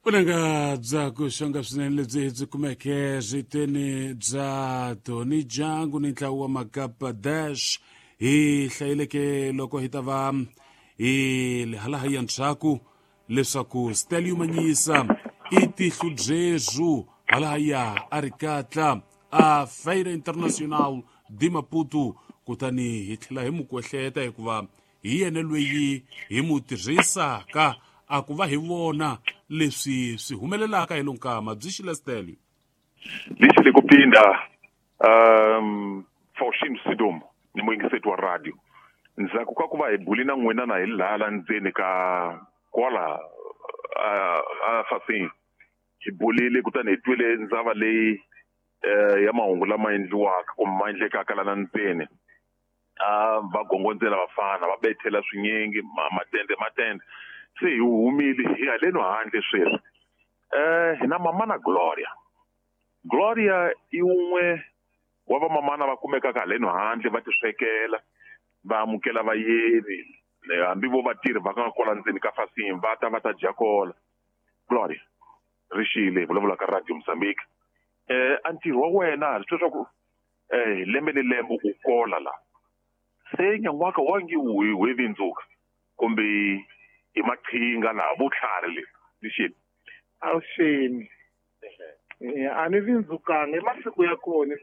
Vunanga bya ku xonga swinene lebyi byi kumeke ritweni bya Tony Jangu ni ntlawa wa Makapa Dash hi hlayeleke loko hi ta va hi halaha ya ndzhaku leswaku Stelio Manyisa i tihlo byezwu halahaya a ri katla a Feira Internacional de Maputo, kutani hi tlhela hi mu kwehleta hikuva hi yena loyi hi mu tirhisaka a ku va hi vona leswi swi humelelaka hi lonkama byi xile Stelio. Lixi le ku phinda Faustino Sidomo ni muyingiseti wa radio ndzhaku ka ku va hi buli na n'wina na hi lala ndzeni ka kwala a fasini hi bulile kutani hi twile ndzava leyi ya mahungu lama endliwaka kumbe ma endlekaka lana ndzeni. A va gongondzela vafana va bethela swinyingi matende matende se hi humile hi haleno handle sweswi. Hi na mamana Gloria. Gloria i wun'we wa vamamana va kumekaka haleno handle va tiswekela va amukela vayeni hambi vo vatirhi va nga kwala ndzeni ka fasini va ta va ta dya kola. Gloria rixile hi vulavula ka Radio Mozambique. A ntirho wa wena swi leswaku lembe ni lembe u kola la se nyan'waka wa nge wu vindzuka kumbe i maqhinga laha vutlhari le lixini. Avuxeni. A ni vindzukanga i masiku ya kona.